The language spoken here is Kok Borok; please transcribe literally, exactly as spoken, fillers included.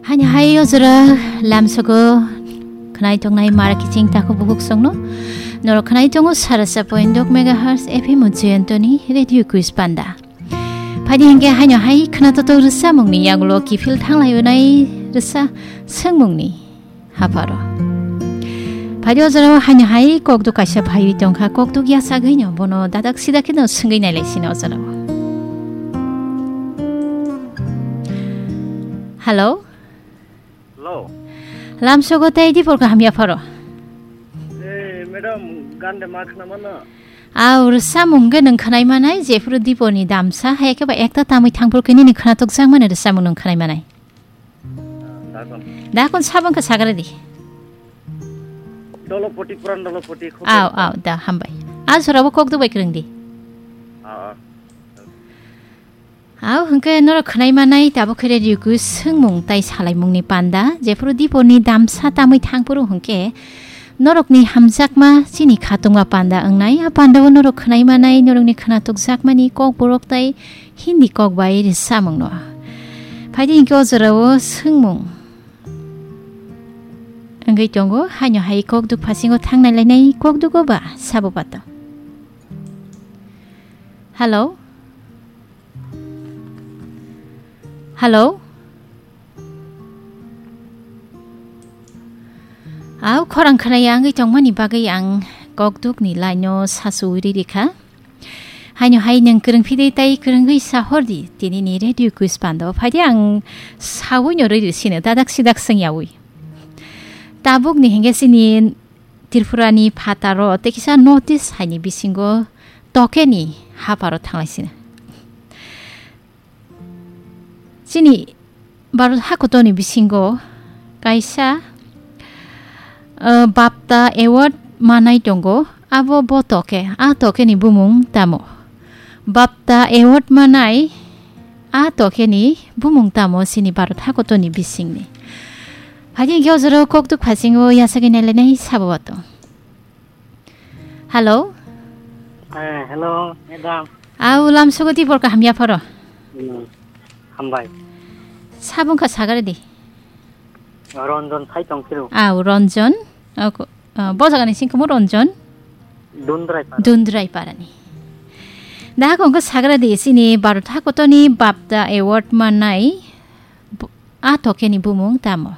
Hani hai ojora lamsogo khnai tongnai mara kiching takhuk bukhuk songno. Norok khnai tongo sarasa point dok megahertz F M Jayantoni Radio Quiz Panda. Phaidi hingke haino hai khna toto rwsamungni yagulo kiphil thanglai onai rwsa swngmungni hapharo. Phaidi ojora haino hai kokduk kaisa phaiwi tongkha, kokduk yasagwino bono dadak sida kheno swngwi nailai sino ojora. Hello? Hello. Lamsogo tei dipor kaham yapharo? Eh, madam, gande ma khna mano? Aw, rwsamung hwnkhe nwng khwnai manai, jephuru diporni damsa, hai khe ba ekta tamwi thangphuru khe nini khwnatok jakmani rwsamung nwng khwnai manai. Dakon. Dakon sabang khe sagra di. Dolopoti, Puran Dolopoti, Aw, aw, da, hambai. A jorabo kokduk bai kwrwng di. Ah, ah. Aw, hwnkhe norok khwnai manai, tabuk khe radio quiz swngmung tai salaimungni panda, jephuru diporni damsa tamwi thangphuru hwnkhe norokni hamjakma chini khatungma panda wngnai, a pandao norok khwnai manai, norokni khwnatok jakmani kokborok tai Hindi kok bai rwsamungno. Phaidi hwnkhe o jorao swngmung wngwi tongo, haino hai kokduk phasingo thangnai lainai kokdugo ba sabo bato. Hello? Hello? Aw, khorang khwnaya wngwi tongmani bagwi ang kokdukni line-o sasu uri rikha. Haino hai nwng kwrwng phidi tei kwrwngwi sahordi, tinini radio quiz pando phaidi ang sawino rwi sino dadak sidak swngyawi. Tabukni hingke chini Tripurani phataro tei kisa North East haini bisingo tokeni haparo thanglai sino. Chini Bharat hakotoni bisingo kaisa, eh, BAFTA award manai tongo. Abo bo toke, a tokeni bumung tamo? BAFTA award manai a tokeni bumung tamo chini Bharat hakotoni bisingni? Phaidi hingke o jorao kokduk phasingo yasagwi nailainai sabo bato. Hello? Eh, hello, madam. Aw, lamsogo tibor kaham yapharo? Hmm, hambai. Sabung kha sagare di. Ronjon sai tong phiru. Aw, Ronjon. Ako, ah, bo jagani singkamo Ronjon. Dundrai para. Dundrai parani. Da kongko sagare di sini Bharat hakotoni BAFTA award manai bu-, a tokeni bumung tamo?